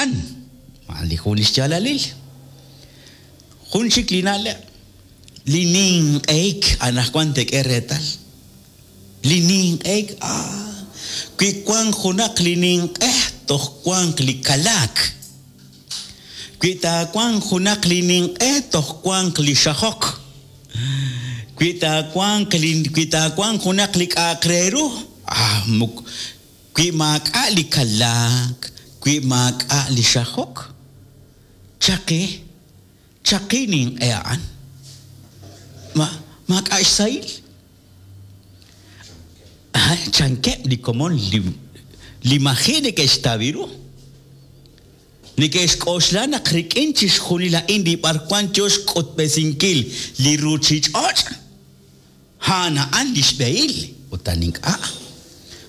A'an, a'an li jun li xyaalalil. Jun chik li na'leb', li ninq'ehik anaqwan teek'e reetal. Li ninq'ehik, ah, wi wank junaq li ninq'e toj wanq li kalaak. Wi taawanq junaq li ninq'e toj wanq li xajok. Wi taawanq li wi taawanq junaq li k'a'aq re ru, ah, mok wi maak'a' li kalaak, wi maak'a' li xajok, chaqi, chaqi ninq'e a'an. Ma maak'a' xsahil. Chankeb' li komon li li maji' neke'xtaw ru. Neke'xk'oxla naq rik'in chixjunil a'in li b'arwan yoo xk'utb'esinkil li ruchich'och', a'an a'an lix b'ehil, ut a'an ink'a'.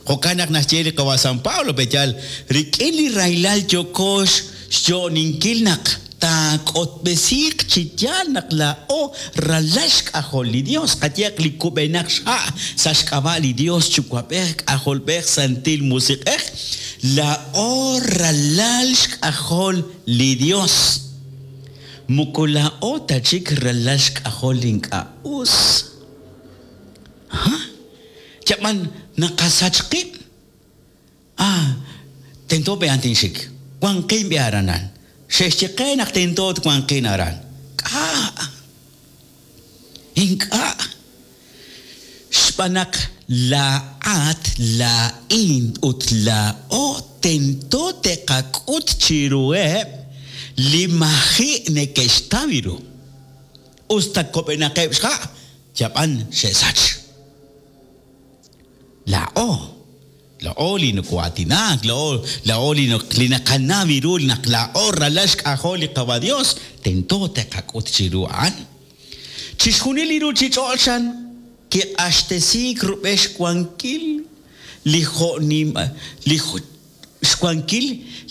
Jo'kan naq naxye li qawa' San Pablo, Pe'yaal rik'in li rahilal yooko xyo'oninkil naq taak'utb'esiiq chi yaal naq laa'o ralal xk'ajol li Dios, qayehaq li kub'enaq xha' sa' xk'ab'a' li Dios Yuwa'b'ej, K'ajolb'ej, Santil Musiq'ej, laa'o ralal xk'ajol li Dios. Moko laa'o ta chik ralal xk'ajol li ink'a' us. Ha? Yab'an naqasach qib'? Ah, tento b'ehan tinxik. Wanqin b'e aranan. Xe'xye qe naq tento twanqin aran. K'a'? Ink'a'. Xb'aan naq laa'at, laa'in ut laa'o tento te'qak'ut chiruheb' li maji' neke'xtaw ru. Us ta kob'enaqeb' xha', yab'an xe'sach. Laa'o, laa'o li noko'aatinak, laa'o, laa'o li li naqanaw ru naq laa'o ralal xk'ajol li Qawa' Dios, tento te'qak'ut chiru a'an. Chixjunil li ruchich'och' chan kiq'axtesiik rub'el xwankil li jo' nim li xwankil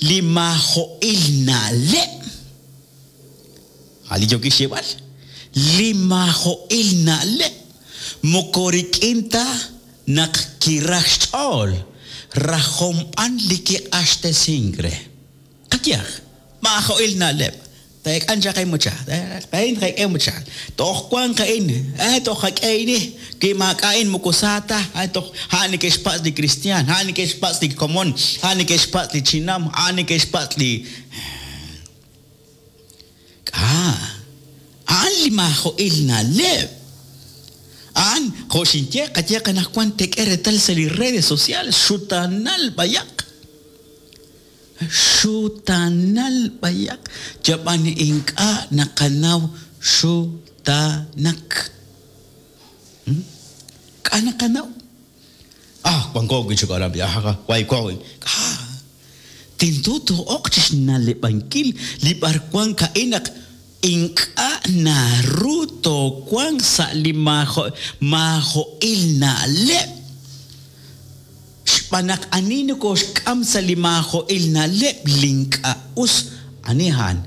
li maajo'il na'leb'. A' li yookin xyeeb'al, li maajo'il na'leb' moko rik'in ta naq kiraj xch'ool, rajom b'an li kiq'axtesink re. Qayehaq, maajo'il na'leb', Teek'an chaq inmucha, a'in tqak'e mucha, toj wanq a'in, eh, toj qak'e ini, wi maak'a' a'in moko sa ta, eh, toj a'an neke'xpatz' li kristiaan, a'an neke'xpatz' li komon, a'an neke'xpatz' li chinam, a'an neke'xpatz' li. K'a'? A'an li maajo'il na'leb'. A'an, jo' xinye, qayeeq anaqwan teek'e reetal sa' li redes sociales, xutaanal b'ayaq. Xutaanal b'ayaq, yab'an ink'a' naqanaw xutaanak. K'a' naqanaw? Ah, wanko wi' chik aran, ah, wayko wi'. K'a'? Tento too'oq chi xna'leb'ankil li b'arwan a'in naq ink'a' naru toowanq sa' li maajo'il na'leb'. Xb'aan naq ani nokooxk'am sa' li maajo'il na'leb' li ink'a' us, ani a'an?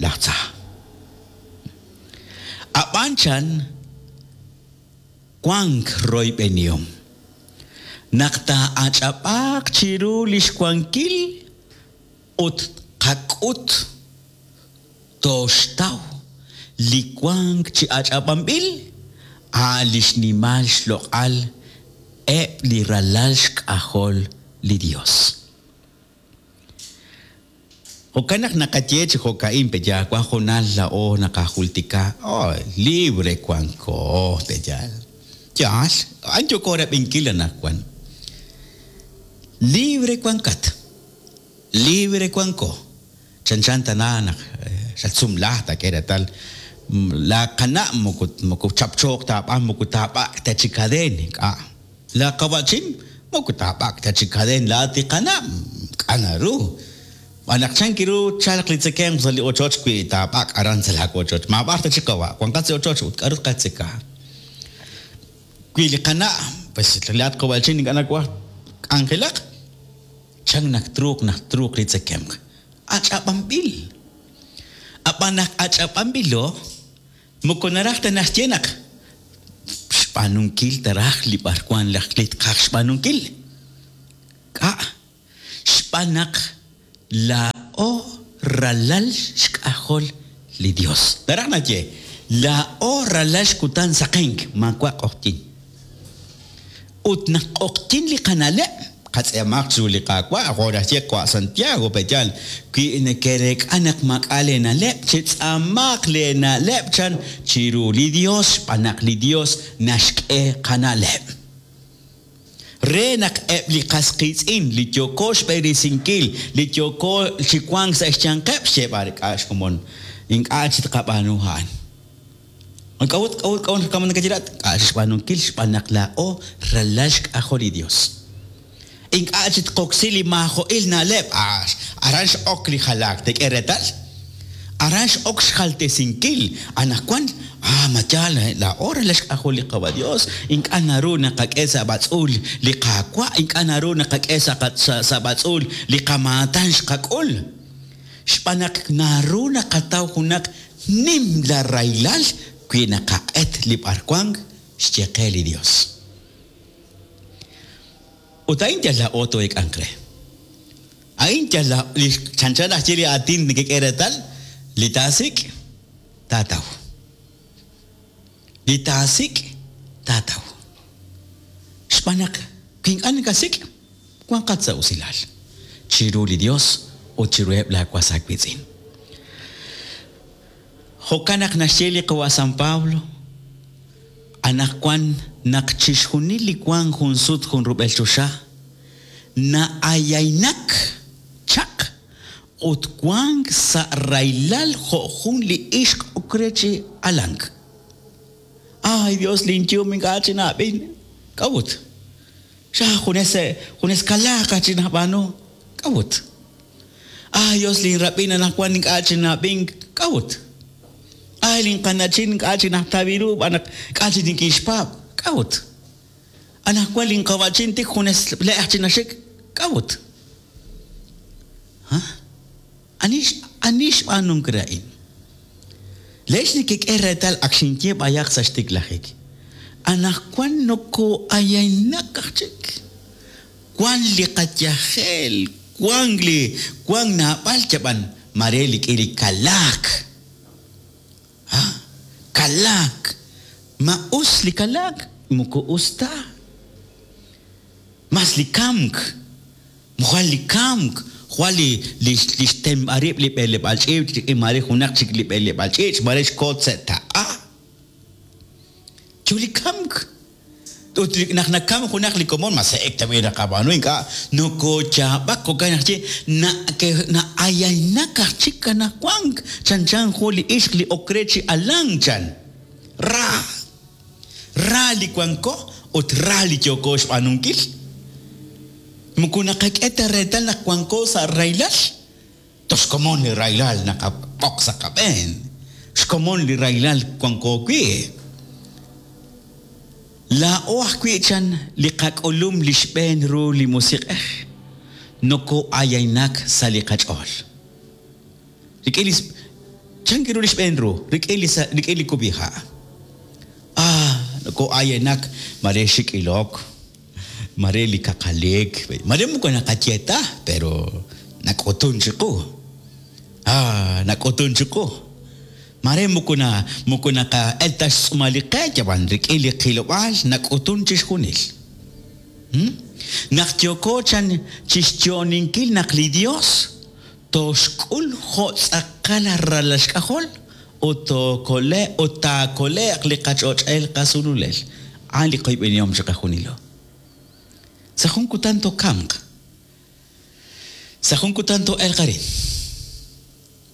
Laj Tza. Ab'an chan. Wank royb'enihom naq taa'ach'ab'aaq chiru li xwankil ut tqak'ut tooxtaw li wank chi ach'ab'anb'il, a' li xnimal xloq'al eb' li ralal xk'ajol li Yos. Jo'kan naq naqaye chi jo'ka'in pe yaal, wan hoonal laa'o naqajultika, oh, libre wanko, pe yaal. Yaal, a'an yooko rab'inkil anaqwan. Libre wankat, libre wanko. Chanchan tana naq xatsumla taak'e reetal laa qana' moko moko chapchooq ta aab'aan, moko taab'ak' ta chi kadeen, ink'a'. Laa qawa'chin moko taab'ak' ta chi kadeen laa tiqana', ink'a' naru. Xb'aan naq chan ru tchalq li tzekemq sa' li ochoch wi taab'ak' aran sa' laa wochoch. Maab'ar ta chik qawa', wanqat sa' ochoch ut k'aru tqatzeka. Wi li qana', pues laa'at qawa'chin ink'a' nawaj k'anjelaq, chan naq truuq naq truuq li tzekemq. Ach'ab'anb'il. Ab'an naq ach'ab'anb'ilo, Moko naraj ta naxye naq xb'aanunkil ta raj li b'arwan laj li tqaj xb'aanunkil. K'a'? Xb'aan naq laa'o. ralal xk'ajol li Dios. Naraj naxye, laa'o ralal xkutan saqenk, maawa' q'oqyink. Ut naq q'oqyink li qana'leb', qatz'eemaq chiru li Qaawa', jo' naxye qawa' Santiago, pe'yaal, wi nekereek'a naq maak'a' leena'leb', chetz'aamaq leena'leb' chan chiru li Dios, xb'aan naq li Dios naxk'e qana'leb'. Re naq eb' li qas qiitz'in li yooko xb'eresinkil, li yooko chi wank sa' xyanqeb', xyeeb'al k'a' xkomon, ink'a' chi tqab'aanu a'an. K'a'ut, k'a'ut, k'a'ut naq nakayela't? K'a' xb'aanunkil xb'aan naq laa'o ralal xk'ajol li Dios. Ink'a' chi tqoksi li maajo'il na'leb', aran x'ok li jalaak, teek'e reetal? Aran x'ok xjaltesinkil. Anaqwan, ma yaal, laa'o ralal xk'ajol li Qawa' Dios, ink'a' naru naqak'e sa' b'atz'uul li Qaawa', ink'a' naru naqak'e sa' b'atz'uul li qamaatan xqak'ul. Xb'aan naq naru naqataw junaq nimla rahilal wi naqaq'et li b'arwank xye qe li Dios. Ut a'in yal laa'o too'eek'anq re. A'in yal li chanchan aj ye li aatin nekek'e reetal, li taasik', taataw. Li taasik', taataw. Xb'aan naq wi ink'a' nakasik', wanqat sa' usilal chiru li Dios ut chiruheb' laa was aawiitz'in. Jo'kan naq naxye li qawa' San Pablo, Anaqwan naq chixjunil li wank jun sut jun rub'el choxa na'ayaynak chaq ut wank sa' rahilal jo' jun li ixq ok re chi alank. Ay, Dios, linyum ink'a' chinab'in. K'a'ut? Xa junes junes kalaak aj chik nab'aanu. K'a'ut? Ay, Dios, linrab'in anaqwan ink'a' chinab'ink. K'a'ut? Ay, linqana'chin ink'a' chik najtaw ru xb'aan naq ink'a' chik nikinxpaab'. K'a'ut? Anaqwan linqawa'chin tik junes le' aj chik naxik. K'a'ut? Ha? Ani ani xb'aanunk re a'in? Laa'ex nekek'e reetal ak xinye b'ayaq sa' xtiklajik. Anaqwan nokoo'ayaynak aj chik. Wank li qayajel, wank li wank naab'al yab'an mare li k'i li kalaak. Ha? Kalaak. Ma us li kalaak? Moko us ta. Mas li kamk. Jwal li kamk, jwal li li li xtenb'a rib' li b'eleb'aal ch'iich' rik'in maare junaq chik li b'eleb'aal ch'iich', maare xko sa' taq'a. Yo li kamk. Ut naq nakamk junaq li komon, ma se'ek tab'i' naqab'aanu, ink'a' nokooyaab'ak, jo'kan naq ye na'ayaynak aj chik anaqwank, chanchan jun li ixq li ok re chi alank, chan. Ra! Ra li wanko ut ra li yooko xb'aanunkil. Moko naqak'e ta reetal naq wanko sa' rahilal, toj xkomon li rahilal naqab'oq sa' qab'een, xkomon li rahilal wanko wi'. Laa'o ajwi' chan li qak'ulum li xb'een ru li Musiq'ej, noko'ayaynak sa' li qach'ool. Rik'in li Chan ru li xb'een ru? Rik'in li rik'in li kub'iha'. Ah, noko'ayenak mare xik' ilok, mare li kaqalik, mare moko naqaye ta, pero nak'utun chiqu. Ah, nak'utun chiqu. Mare moko na moko naqa'el ta xtz'uumal li qe, yab'an rik'in li qilob'aal nak'utun chixjunil. Hmm? Naq yooko chan chixyo'oninkil naq li Dios Tooxk'ul jo' tz'aqal ralal xk'ajol ut tookole' ut taakole'q li qach'och'el qasululel. A'an li qoyb'enihom chiqajunilo. Sa' jun kutan tookamq. Sa' jun kutan too'elq arin.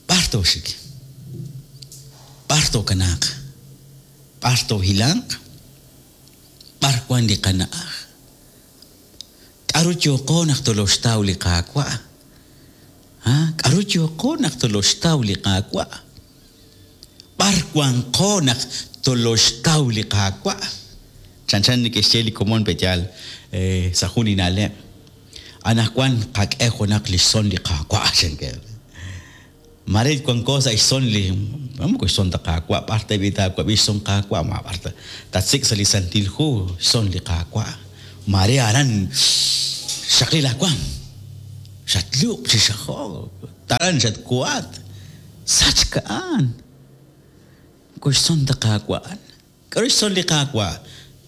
B'ar tooxik? B'ar tookanaaq? B'ar toohilanq? B'ar wank li qana'aj? K'aru yooqo naq toloxtaw li Qaawa'? Ha? K'aru yooqo naq toloxtaw li Qaawa'? B'ar wanqo naq toloxtaw li Qaawa'? Chanchan neke'xye li komon pe'yaal sa' jun li na'leb'. Anaqwan qak'e junaq li xson li Qaawa', chankeb'. Mare wanko sa' xson li, moko xson ta Qaawa', b'ar ta b'i taawab'i xson Qaawa', ma b'ar ta tatsik' sa' li Santil Hu xson li Qaawa'. Mare aran xxaqli laa waam, xatlub' chi xajok. Taran xatkohat. Sachk a'an. Moko xtzon ta Qaawa' a'an. K'aru xtzol li Qaawa'?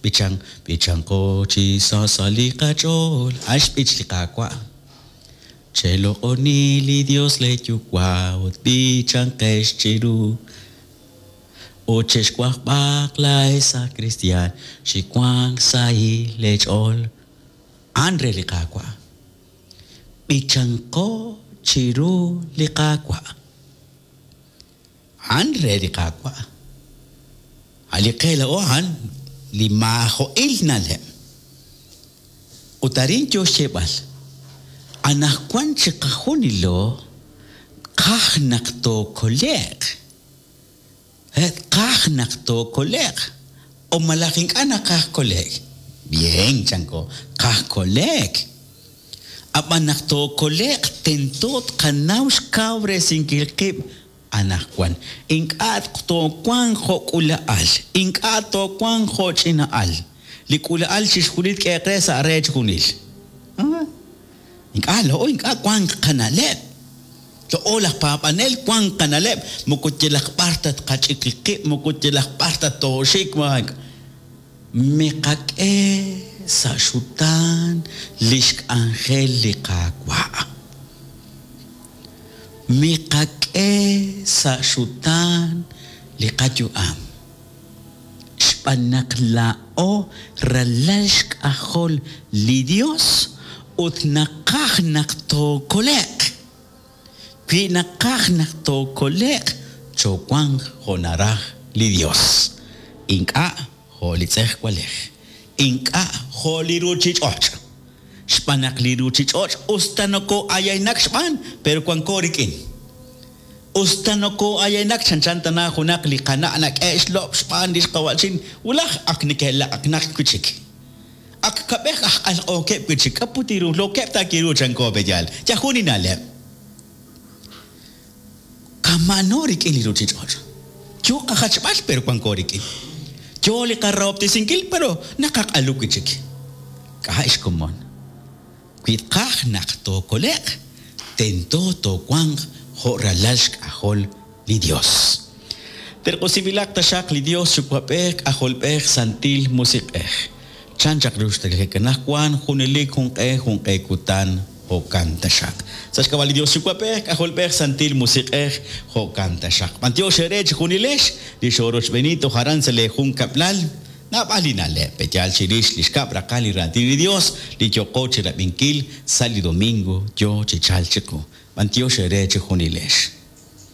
B'ichan, b'ichanqo chi sa sa' li qach'ool. A'an xb'ich li Qaawa'. Cheloq'oni li Dios lee Yuwa' ut b'ichanqex chiru. Ut chexwajb'aq laa'ex aj kristiaan chi wank sahil leech'ool. A'an re li Qaawa'. B'ichanqo chiru li Qaawa'. A'an re li Qaawa'. A' li qe laa'o a'an li maajo'il na'leb'. Ut arin yoo xyeeb'al, Anajwan chiqajunilo tqaj naq tookole'q. Tqaj naq tookole'q. O malaj ink'a' naqaj kole'k? Bien, chanko, tqaj kole'k. Ab'an naq tookole'q tento tqanaw xkawresinkil qib' anaqwan. Ink'a' toowanq jo' k'uula'al, ink'a' toowanq jo' ch'ina'al. Li k'uula'al chixjunil tk'ehe'q re sa' re chixjunil. Ink'a' laa'o ink'a' wank qana'leb'. Laa'o laj paab'anel wank qana'leb' moko yalaq b'ar ta tqach'ik qib', moko yalaq b'ar ta tooxik. Miqak'e sa' xutaan li xk'anjel li Qaawa'. Miqak'e sa' xutaan li qayu'am. Xb'aan naq laa'o ralal xk'ajol li Yos ut naqaj naq tookole'q. Wi naqaj naq tookole'q, choowanq jo' naraj li Yos, ink'a' jo' li tz'ejwalej, ink'a' jo' li ruuchich'och'. Xb'aan naq li ruuchich'och' us ta nokoo'ayaynak xb'aan, pero wanko rik'in. Us ta nokoo'ayaynak chanchan tana junaq li qana' nak'e' xlob' xb'aan li xqawa'chin, wulaj ak neke'laq'aqnaq wi' chik. Ak kab'ej aj q'alq'ookeb' wi' chik, k'a' put ru, lookeb' ta kiru chanko pe'yaal. Yal jun li na'leb'. Kama'ano rik'in li ruuchich'och'. Yoo qajachb'al pero wanko rik'in. Yoo li qarahob'tesinkil pero naqaq'alu wi' chik. K'a' xkomon. Wi tqaj naq tookole'q, tento toowanq jo' ralal xk'ajol li Yos. Terq'usinb'ilaq taxaq li Yos Yuwa'b'ej, K'ajolb'ej, Santil Musiq'ej. Chan chaq ru xtiklajik anaqwan, junelik junq'e junq'e kutan, jo'kan taxaq. Sa' xk'ab'a' li Yos Yuwa'b'ej, K'ajolb'ej, Santil Musiq'ej, jo'kan taxaq. B'antiox eere chejunilex li xoorochb'eeni toj aran sa' lee junkab'lal. Naab'al li na'leb' pe'yaal chirix li xkab' raqal li Raatin li Yos li yooqo chirab'inkil sa' li domingo yoo chi chalk chiqu. B'antiox eere chejunilex.